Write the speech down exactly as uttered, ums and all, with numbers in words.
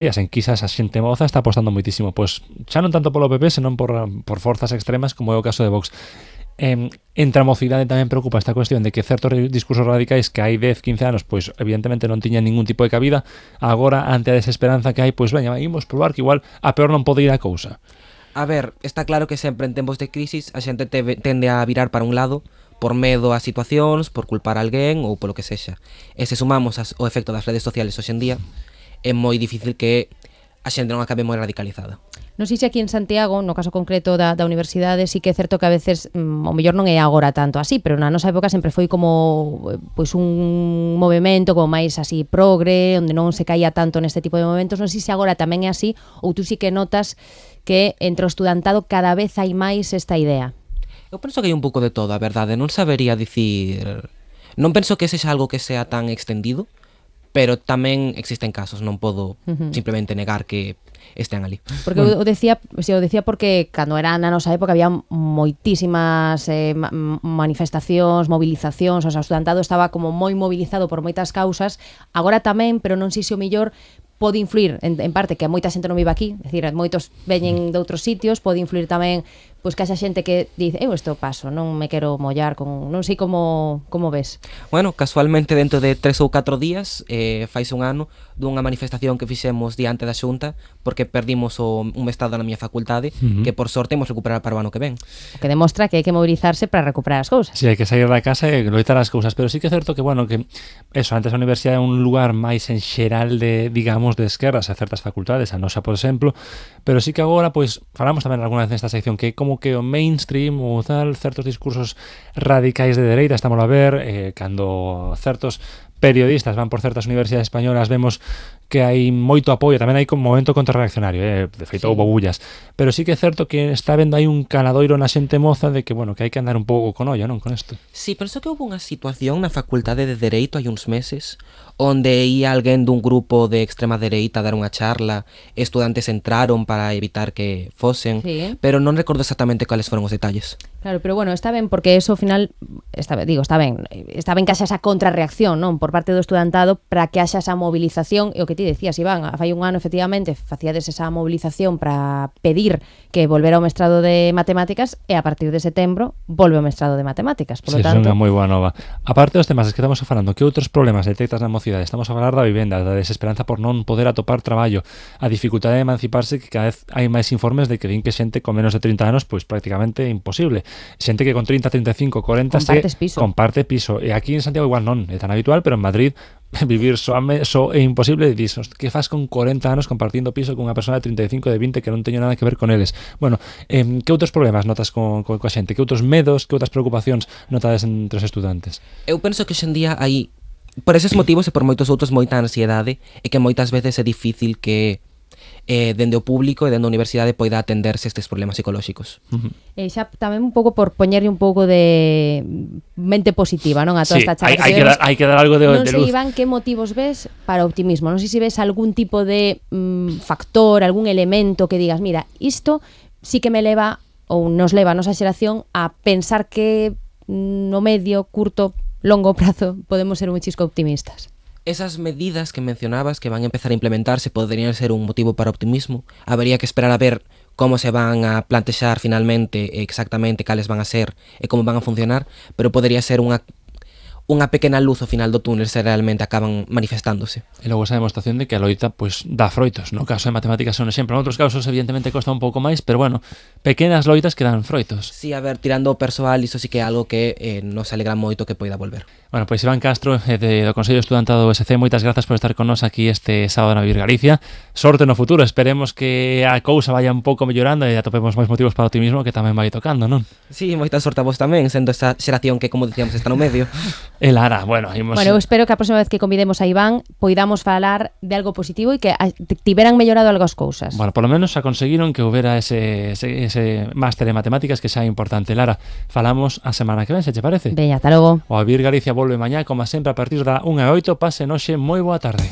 en quizás a xente moza está apostando moitísimo, pois xa non tanto polo P P, senón por, por forzas extremas como é o caso de Vox. Eh, entre a mocidade tamén preocupa esta cuestión de que certos discursos radicais que hai dez, quince anos, pois evidentemente non tiñan ningún tipo de cabida, agora ante a desesperanza que hai, pois veña, imos probar que igual a peor non pode ir a cousa. A ver, está claro que sempre en tempos de crisis a xente te, tende a virar para un lado por medo ás situacións, por culpar a alguén ou polo que sexa. E se sumamos as, o efecto das redes sociales hoxe en día, é moi difícil que a xente non acabe moi radicalizada. Non sei se aquí en Santiago, no caso concreto da, da universidade, sí que é certo que a veces, mm, o mellor non é agora tanto así, pero na nosa época sempre foi como pois un movimento como máis así progre, onde non se caía tanto neste tipo de momentos. Non sei se agora tamén é así, ou tú sí que notas que entre o estudantado cada vez hai máis esta idea. Eu penso que hai un pouco de todo, a verdade, non sabería dicir... Non penso que sexa algo que sea tan extendido, pero tamén existen casos, non podo uh-huh. simplemente negar que estén ali. Porque bueno. eu decía, se eu decía porque cando era na nosa época había moitísimas eh, manifestacións, movilizacións, o sea, o estudantado estaba como moi mobilizado por moitas causas, agora tamén, pero non sei se o mellor pode influir en, en parte que moita xente non vive aquí, é dicir, moitos veñen de outros sitios, pode influir tamén pois que haxa xente que dice, eu isto paso, non me quero mollar con, non sei como como ves. Bueno, casualmente dentro de tres ou catro días, eh, faise un ano dunha manifestación que fixemos diante da Xunta porque perdimos o, un mestrado na miña facultade, uh-huh. que por sorte imos recuperar para o ano que ven. O que demostra que hai que mobilizarse para recuperar as cousas. Si, sí, hai que sair da casa e loitar as cousas, pero sí que é certo que, bueno, que eso, antes a universidade é un lugar máis en xeral de, digamos, de esquerdas a certas facultades, a nosa, por exemplo, pero sí que agora, pois, falamos tamén alguna vez nesta sección que como que o mainstream ou tal, certos discursos radicais de dereita, estamos a ver, eh, cando certos periodistas van por certas universidades españolas, vemos que hai moito apoio, tamén hai como momento contrarreaccionario, eh? De feito, sí. Houbo bullas, pero sí que é certo que está vendo aí un canadoiro na xente moza de que, bueno, que hai que andar un pouco con olla, non, con isto. Sí, penso que houve unha situación na Facultade de Dereito hai uns meses onde ia alguén dun grupo de extrema dereita a dar unha charla, estudantes entraron para evitar que fosen, sí. Pero non recordo exactamente cales foron os detalles. Claro, pero bueno, está ben porque eso ao final, está, digo, está ben, está ben que haxa esa contrarreacción, non, por parte do estudantado para que haxa esa movilización, e o que ti decías, Iván, fai un ano efectivamente facíades esa movilización para pedir que volvera ao mestrado de matemáticas e a partir de setembro volve ao mestrado de matemáticas, por lo sí, tanto... É unha moi boa nova. Aparte dos temas que estamos falando, que outros problemas detectas na mocidade? Estamos a falar da vivenda, da desesperanza por non poder atopar traballo, a dificultade de emanciparse, que cada vez hai máis informes de que din que xente con menos de trinta anos, pois prácticamente imposible. Xente que con treinta, treinta e cinco, corenta Compartes se piso. comparte piso. E aquí en Santiago igual non, é tan habitual, pero en Madrid vivir só, só é imposible e dices, que faz con corenta anos compartindo piso con unha persona de trinta e cinco, de vinte que non teño nada que ver con eles. Bueno, eh, que outros problemas notas con, con, coa xente? Que outros medos, que outras preocupacións notades entre os estudantes? Eu penso que hoxe en día hai, por eses motivos e por moitos outros, moita ansiedade e que moitas veces é difícil que eh, dende o público e dende a universidade poida atenderse estes problemas psicolóxicos. Uh-huh. E xa tamén un pouco por poñerlle un pouco de mente positiva, non, a toda sí, esta charla. Hai, hai, que dar, hai que dar algo de, non de sei, luz. Iván, que motivos ves para optimismo? Non sei se ves algún tipo de mm, factor, algún elemento que digas, mira, isto sí que me leva ou nos leva a nosa xeración a pensar que no medio, curto, longo prazo podemos ser un chisco optimistas. Esas medidas que mencionabas que van a empezar a implementarse poderían ser un motivo para optimismo. Habría que esperar a ver como se van a plantexar finalmente exactamente cales van a ser e como van a funcionar, pero podería ser unha unha pequena luz ao final do túnel se realmente acaban manifestándose. E logo esa demostración de que a loita pues, dá froitos. No caso de matemáticas é un exemplo. En outros casos evidentemente costa un pouco máis, pero bueno, pequenas loitas que dan froitos. Sí, a ver, tirando o persoal, iso sí que é algo que eh, nos alegra moito que poida volver. Bueno, pois Iván Castro, eh, de, do Consello Estudantado do U S C, moitas grazas por estar con nós aquí este sábado na Vivir Galicia. Sorte no futuro, esperemos que a cousa vaya un pouco mellorando e atopemos máis motivos para o optimismo que tamén vai tocando, non? Sí, moita sorte a vos tamén, sendo esa xeración que, como dicíamos, está no medio. E Lara, bueno, imos... Bueno, eu espero que a próxima vez que convidemos a Iván poidamos falar de algo positivo e que tiveran mellorado algo as cousas. Bueno, por lo menos a conseguiron que houbera ese, ese, ese máster de matemáticas que xa é importante. Lara, falamos a semana que ven, se che parece? Veña, ata logo. O A Vivir Galicia volve mañá, como sempre, a partir da unha e oito. Pasen hoxe moi boa tarde.